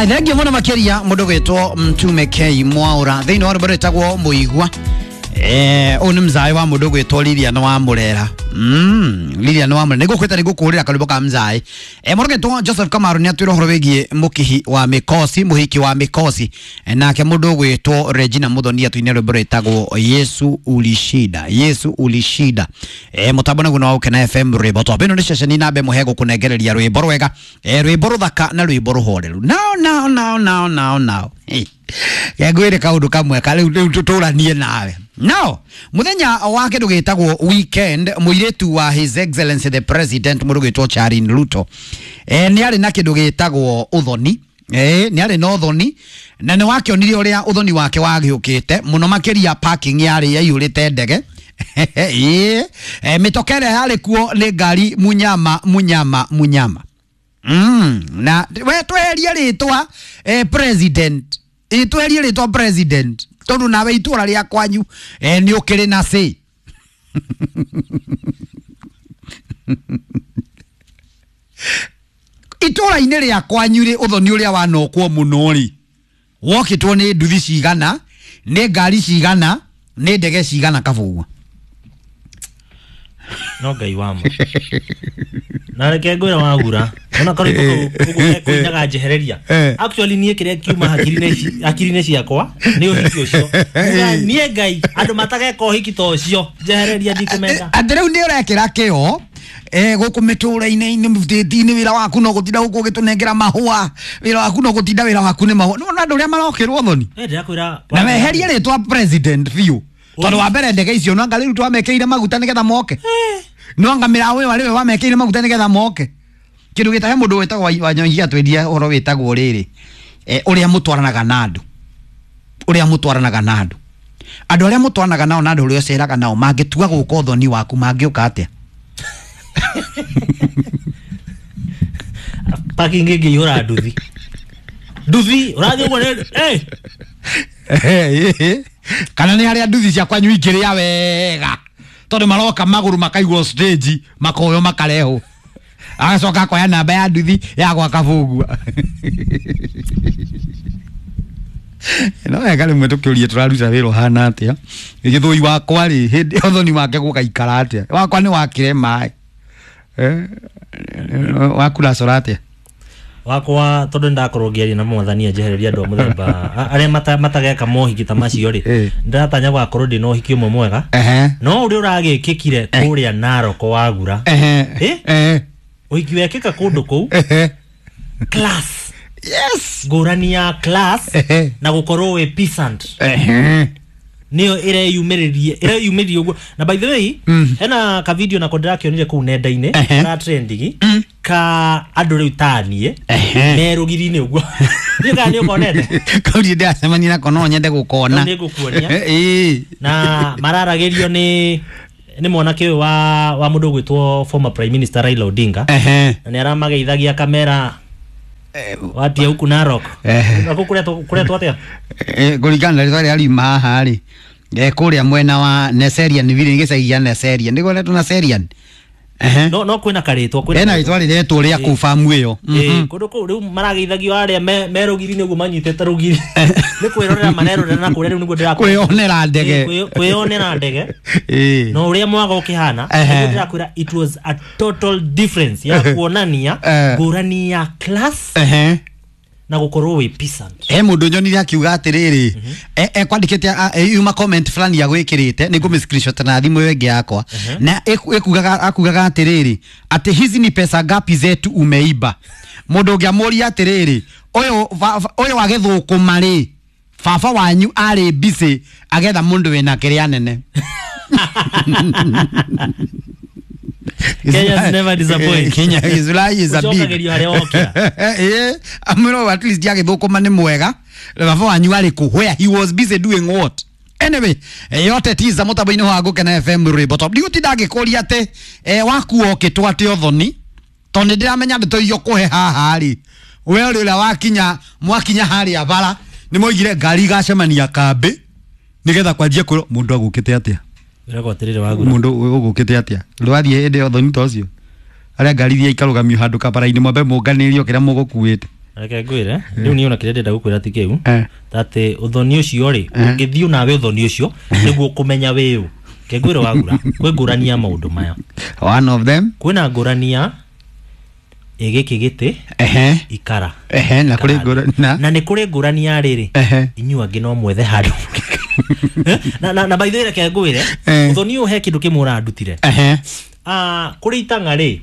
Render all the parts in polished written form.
Thengio muno makiria mundu gwitwo Mtume K Mwaura thiini wa rwimbo rwitagwo Muigua. Uyu ni mzae wa mundu gwitwo Lilian wa Murera. Lilian wa Murera nigukwita nigukurira karwimbo ka mzae. Mundu gwitwo Joseph Kamaru ni atwira uhoro wigie mukihi wa mikosi, muhiki wa mikosi. Nake mundu gwitwo Regina Muthoni atwine rwimbo rwitagwo Yesu Ulishida. Yesu Ulishida. Mutambo naguo no Ukena FM rwimbo top. Ino ni ceceni nambe muhe gukunengereria rwimbo rwega, rwimbo ruthaka na rwimbo ruhoreru. Now now now now now now. Hey. Ngwire kaundu kamwe ka riu tuturanie nawe. Now, muthenya wa kindu gitagwo weekend, muiritu wa His Excellency the President mundu gwitwo Charin Ruto ni ari na kindu gitagwo uthoni. Ni ari na uthoni na ni wakionire uria uthoni wake wagiukite muno makiria parking yari yaiyurite ndege. Mitokere yari kuo ni ngari munyama munyama munyama. Na we tweherie ritwa president, tweherie ritwa president tondu nawe itura ria kwanyu ni ukiri na say. Itura-inĩ rĩa kwanyu rĩ uthoni ũrĩa wanokwo mũno rĩ wokĩtwo nĩ nduthi cigana, nĩ ngari cigana, nĩ ndege cigana kabugwa. No Ngai wa ma. Na reke ngwĩra wagura ona korwo ũguo kuinaga njehereria. Actually niĩ kĩrĩa kiuma hakiri-inĩ ciakwa nĩ ũhiki ũcio. Niĩ Ngai andũ matageka ũhiki ta ũcio njehereria ndikũmenda. Atĩ rĩu nĩ ũrekĩra kĩo gũkũ mĩtũra-inĩ inĩ wĩra waku no gũtinda gũkũ ũgĩtũnengera mahũa, wĩra waku no gũtinda, wĩra waku nĩ mahũa. Nĩwona andũ ũrĩa marokĩrwo thoni. Ndĩrakwĩra na weherie rĩtwa president biũ tondu wa mbere ndege icio no anga rĩu twamekĩire maguta nĩgetha moke. No anga mĩraũ ĩyo arĩ we wamekĩire maguta nĩgetha moke. Kĩndũ gĩtahe mũndũ wĩtagwo Wanyonyi atwĩria ũhoro wĩtagwo rĩrĩ, ũrĩa mũtwaranaga na andũ, ũrĩa mũtwaranaga na andũ, andũ arĩa mũtwaranaga nao na andũ ũrĩa ũceraga nao mangĩtua gũka ũthoni waku mangĩũka atĩa? Parking ĩngĩihũra nduthi nduthi ũrathiĩ ũguo kana nĩ harĩa nduthi cia kwanyu ingĩrĩa wega tondu maroka magũrũ makaigwo stage makoyo makarehwo agacoka akoya namba ya nduthi ya gwa kabugua. No wega rĩmwe tũkĩũrie tũraruta wĩra ũhana atĩa, gĩthũi wakwa rĩ hĩndĩ ũthoni wake gũgaikara atĩa, wakwa nĩ wakĩre maĩ, waku ũracora atĩa? Wakwa tondu ndakorwo ngĩaria na mwathani anjehereria andũ a mũthemba arĩa matageka mohiki ta macio rĩ, ndĩratanya gũgakorwo ndĩna ũhiki ũmwe mwega. No ũrĩa ũragĩkĩkire kũrĩa Narok wagura, ũhiki wekĩka kũndũ kũu class, yes, ngũrani ya class na gũkorwo wĩ peasant nĩyo ĩreyumĩrĩrie ũguo. Na by the way hena ka video nako ndĩrakĩonire kũu nenda-inĩ ka trending ka andũ rĩu ta niĩ me rũgiri-inĩ ũguo. Ndiũĩ kana nĩ ũkonete. Kau ndirĩ ndĩracemania nako no nyende gũkona. Nĩ ngũkuonia. Na mararagĩrio nĩ mwanake ũyũ wa mũndũ ũgwĩtwo former Prime Minister Raila Odinga. Na nĩ aramageithagia kamera watia huku Narok. Naku kũretwo atĩa? Kũringana na rĩtwa rĩrĩa riuma haha rĩ, kũrĩa mwena wa Neserian village, gĩcagi gĩa Neserian, nĩguo retwo Neserian. No kwĩna karĩtwa, kwĩna hena rĩtwa rĩretwo rĩa kũu famu ĩyo. Kũndũ kũu rĩu marageithagio arĩa me rũgiri-inĩ ũguo manyitĩte rũgiri nĩ kwĩrorera marerorera na kũrĩa rĩu nĩguo ndĩrakwĩra. Kwĩyonera ndege. Kwĩyonera ndege. No ũrĩa mwaga ũkĩhana nĩguo ndĩrakwĩra it was a total difference ya kuonania ngũrani ya class na gũkorwo wĩ peasant. Mũndũ nyonire akiuga atĩrĩrĩ, ekwandĩkĩte yuma comment fulani ya gwĩkĩrĩte nĩ ngũmĩ screenshot na thimũ ĩyo ĩngĩ yakwa na ĩkugaga akugaga atĩrĩrĩ atĩ hizi ni pesa ngapi zetu umeiba. Mũndũ ũngĩ amũria atĩrĩrĩ ũyũ wa gĩthũkũma rĩ baba wanyu arĩ busy agetha mũndũ wĩna kĩrĩa nene. Kenyans never disappoint. Kenya is is a big. Amuro at least yake thukuma ni mwega. Baba wanyu ari ku where he was busy doing what? Anyway, yote tiza mutambo-inĩ wa Gũkena FM rwĩmbo top. Ndigũtinda ngĩkũria atĩ waku okĩtwo atĩ ũthoni tondũ nĩndĩramenya ndeto iria ũkũhe haha rĩ we ũrĩ ũrĩa wakinya mwakinya harĩa bara nĩ moigire ngari igacemania kambĩ nĩgetha kwanjia kwĩrwo mũndũ agũkĩte atĩa. Mũndũ ũgũkĩte atĩa rwathiĩ hĩndĩ ya ũthoni ta ũcio arĩa ngari iria ikarũgamio handũ kabara-inĩ mwambe mũnganĩrio kĩrĩa mũgũkuĩte. Reke ngwire riu ni ona kiria ndenda gukwira ti kiu ati uthoni ucio ri ungithiu nawe uthoni ucio niguo kumenya wiu. Ke ngwire wagura kwi ngurani ya maundu maya. One of them kwina ngurani ya giki giti ikara na kuri ngurani na ni kuri ngurani ya riri inyu angi no mwethe handu. Na by the way reke ngwire uthoni uyu he kindu kimwe urandutire. Kuri itanga ri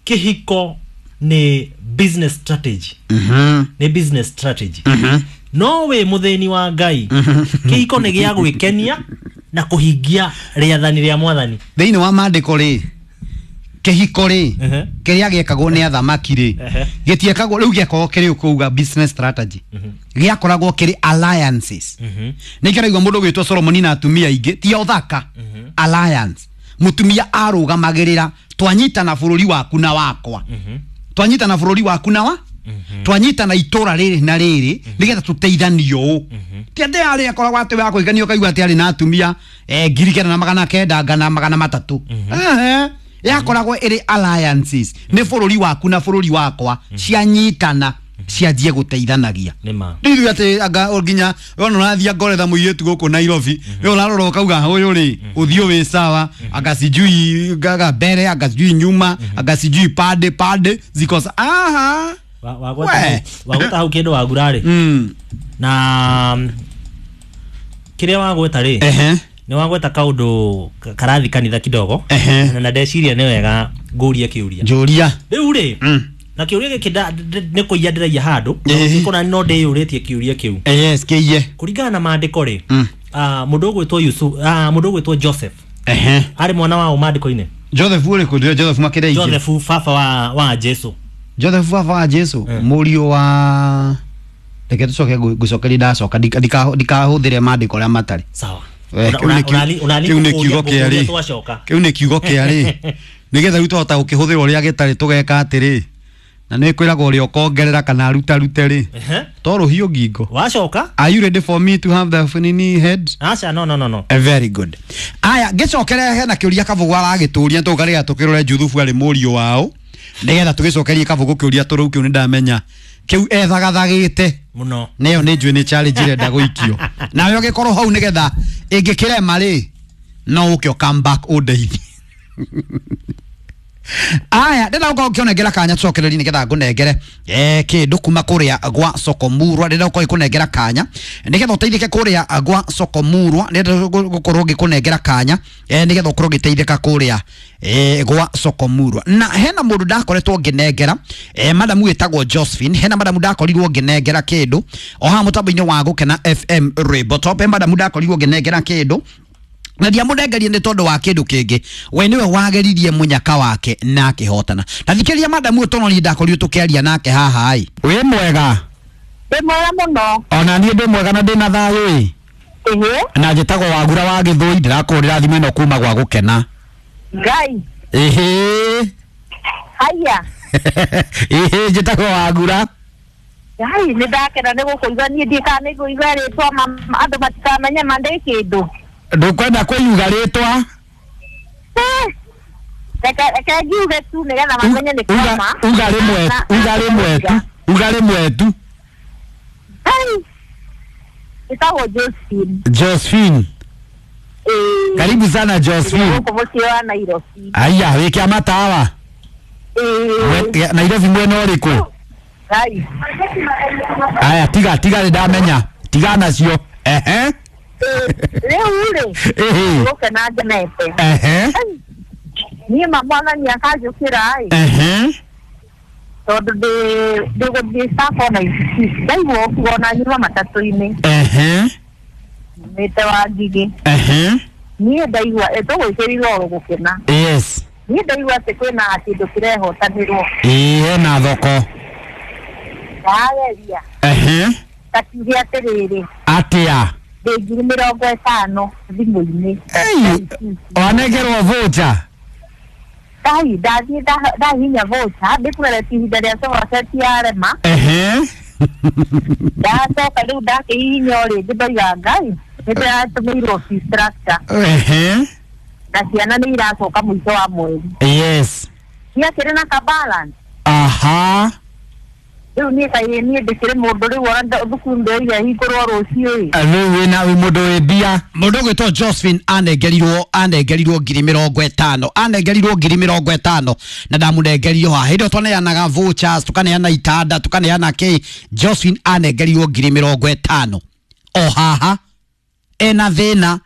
kihiko ni business strategy. Ni business strategy. No we muthini wa Ngai kihiko ni gia gwikenia na kuhingia riathani ria mwathani. Thiini wa maandiko ri kihiko ri kiria giekagwo ni athamaki ri gitiekagwo riu giakoragwo kiri kuuga business strategy, giakoragwo kiri alliances. Ni kiraigua mundu gwitwo Solomon na atumia ingi ti othaka alliance, mutumia arugamagirira twanyitana bururi waku na wakwa, twanyitana bururi waku na wa twanyitana itura riri na riri nigetha tuteithanio uu. Ti ati ari akoragwo ati wa kuiganio kaigua ati ari na atumia 9,900 300. Yakoragwo iri alliances ni bururi waku na bururi wakwa cianyitana cianjie guteithanagia. Ndiru ati anga nginya wona urathia ngoretha muiretu guku Nairobi we urarora ukauga uyu ri uthio wi sawa, anga sijui gaga mbere, anga sijui nyuma, anga sijui pande pande ziko aha. Wagweta hau kindu wagura ri na kiria wagweta ri ni wagweta kaundu karathi kanitha kidogo na ndeciria ni wega ngurie kiuria njuria riu ri na kiuria giki ni kuiya ndiraia handu kona no ndiyuritie kiuria kiu. Yes kiiye kuringana na maandiko ri mundu ugwitwo Yusuf, mundu ugwitwo Joseph ari mwana wa maandiko-ini. Joseph uri ku Joseph makireike Joseph baba wa Jesu. Joseph baba wa Jesu muriu wa reke tucoke ngucokeria ndacoka ndikahuthire maandiko ria matari. Sawa. Kiu ni kiugo kia ri kiu ni kiugo kia ri nigetha riu twahota gukihuthira uria gitari tugeka atiri na ni kwiragwo uria ukongerera kana ruta rute ri to ruhiu ngingo wacoka. Are you ready for me to have the nini head? Acha no no no no. Very good. Aya ngicokere hena kiuria Kabugu aragituria tukarega tukirore Juthubu ari muriu wao nigetha tugicokerie Kabugu kiuria turu kiu ni ndamenya kiu ethagathagite muno neyo ni njui ni challenge irenda guikio nawe ugikorwo hau nigetha ingikirema ri no uke come back undeithie. Aya ndenda gukorwo ngionengera kanya tucokererie nigetha ngunengere kindu kuma kuria gwa Sokomurwa. Ndenda gukorwo ngikunengera kanya nigetha uteithike kuria gwa Sokomurwa. Ndenda gukorwo ngikunengera kanya nigetha ukorwo ngiteithika kuria gwa Sokomurwa. Na hena mundu ndakoretwo nginengera madamu witagwo Josephine. Hena madamu ndakorirwo nginengera kindu o haha mutambo-ini wa Gukena FM Rainbow Top. Madamu ndakorirwo nginengera kindu na ndiamunengerie ni tondu wa kindu kingi we niwe wageririe munyaka wake na akihotana. Na thikiria madamu uyu tono ni ndakorirwo tukiaria nake haha ai. Wi mwega? Ndi mwega muno. Ona nie ndi mwega na ndina thayu i. Na njitagwo Wagura wa Githui, ndirakurira thimu ino kuma gwa Gukena. Ngai. Ehe. Haya. Ehe njitagwo Wagura. Ngai ni ndakena ni gukuigua nie ndikana ni nguigua ritwa andu matikamenya ma ndi kindu. Ndukwenda kwiyuga ritwa? Reke ngiuge tu nigetha mamenye ni kama. Uga rimwe, uga rimwe tu, uga rimwe tu. Nitagwo Josephine. Josephine. Karibu sana Josephine. Guku mucii wa Nairobi. Aya, wi kia matawa? Nairobi mwena uriku? Ngai. Aya, tiga tiga ni ndamenya. Tiga nacio. Ehe. Riu ri gukena ngenete. Niĩ ma mwathani akanjũkĩra ĩ tondu ndĩgũthiĩ Sacco na ndaigua ũkuo na nyuma matatũ-inĩ mĩte wa Ngigĩ. Niĩ ndaigua tũgwĩkĩrirwo oro gũkena. Yes. Niĩ ndaigua atĩ kwĩna kĩndũ kĩrehotanĩrwo. Ĩĩ hena thoko. Ndageria. Ngakiuge atĩrĩrĩ. Atia? Ndĩ 50,000 thimũ-inĩ. Wanengerwo voucher? Ngai ndathiĩ ndahihinya voucher ndĩkũgeretie ihinda rĩa sofa yarema. Ndacoka rĩu ndakĩhihinya o rĩngĩ ndoiga Ngai nĩndĩratũmĩirwo fee structure. Na ciana nĩ iracoka mũico wa mweri. Yes. Ciakĩrĩ na ka balance. Aha. Rĩu niĩ kaĩ niĩ ndĩkĩrĩ mũndũ rĩu ona thukuru ndĩroiga hingũrwo rũciũ ĩ. Rĩu wĩna wĩ mũndũ wĩ mbia. Mũndũ ũgwĩtwo Josephine anengerirwo 50,000, anengerirwo 50,000 na ndamũnengerio haha hĩndĩ ĩyo twaneanaga vouchers, tukaneana itanda, tukaneana kĩ. Josephine anengerirwo 50,000 o haha ena thĩna,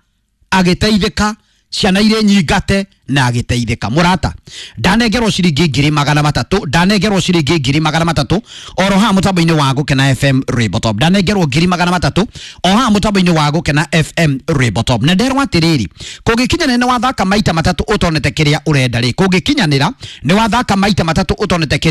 agĩteithĩka, ciana irĩ nyingate na agĩteithĩka. Mũrata, ndanengerwo ciringi 300,000, ndanengerwo ciringi 300,000 oro haha mũtambo-inĩ wa Gũkena FM Rainbow Top. Ndanengerwo 300,000 o haha mũtambo-inĩ wa Gũkena FM Rainbow Top. Na nderwo atĩrĩrĩ, kũngĩkinyanĩra nĩ wathaka maita matatũ ũtonete kĩrĩa ũrenda rĩ, kũngĩkinyanĩra nĩ wathaka maita matatũ ũtonete kĩrĩa